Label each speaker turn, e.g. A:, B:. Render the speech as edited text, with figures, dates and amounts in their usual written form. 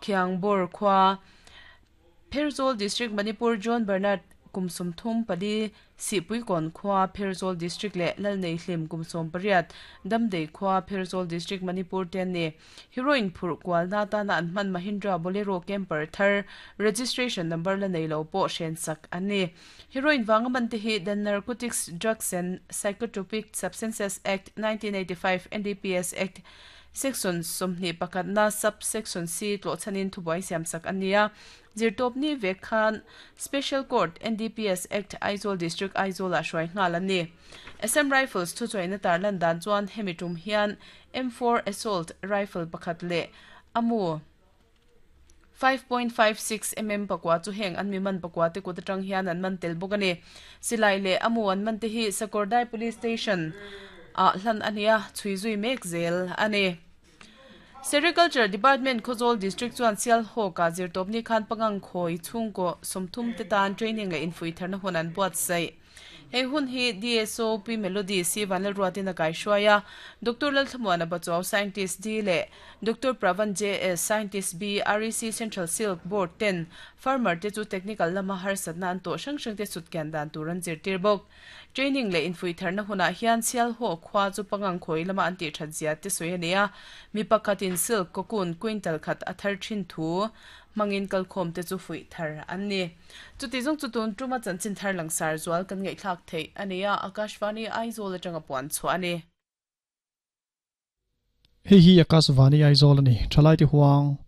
A: Khiangbawr khua, Pherzawl District, Manipur, John Bernard, kum 34, Sihpuikawn khua, Pherzawl District leh Lalneihlim, kum 18, Damdei khua, Pherzawl District, Manipur te an ni. Heroin phurh kualna atana an hman Mahindra Bolero Camper thar registration number la nei lo pawh hrensak an ni. Heroin vanga man te hi The Narcotics Drugs and Psychotropic Substances Act, 1985, NDPS Act, Section 21 na Sub-Section C tlawhchhanin thubuai siamsak an ni a. Zirtawpni vek khan Special Court, NDPS Act, Aizawl District, Aizawl-ah hruai nghal an ni. Assam Rifles thuchuaina tarlan dan chuan hemi tum hian M4 Assault Rifle pakhat leh a mu 5.56 mm pakua chu heng an mi man pakua te kut atang hian an man tel bawk a ni. Silai leh a mu an man te hi Sakawrdai Police Station ah hlan a ni a, chhui zui mek zel a ni. Sericulture Department Khawzawl District chuan Sialhawk-ah zirtawpni khan pangang khawi chhungkaw 30 te tan training leh infuitharna hun an buatsaih. Hei hun hi DSO Pi Melody C Vanlalruatin a kaihruai a, Doctor Lalthlamuana Bachuau Scientist D leh Doctor Pravan JS Scientist B REC Central Silk Board ten farmer te chu technical lama harsatna an tawh hrang hrang te sutkian dan tur an zirtir bawk. Training leh infuitharna hunah hian Sialhaw khua chu pangang khawi lama an tih that zia te sawi a ni a, mi pakhatin silk cocoon quintal khat a thar thin thu hmangin kalkhawm te chu fuih thar an ni. Chuti zawng chu tun tuma chanchin thar langsar zual kan ngaihthlak theih a ni a, Akashvani Aizawl atanga puan chhuah a ni.
B: Hei hi Akashvani Aizawl a ni, Thalaite Huang.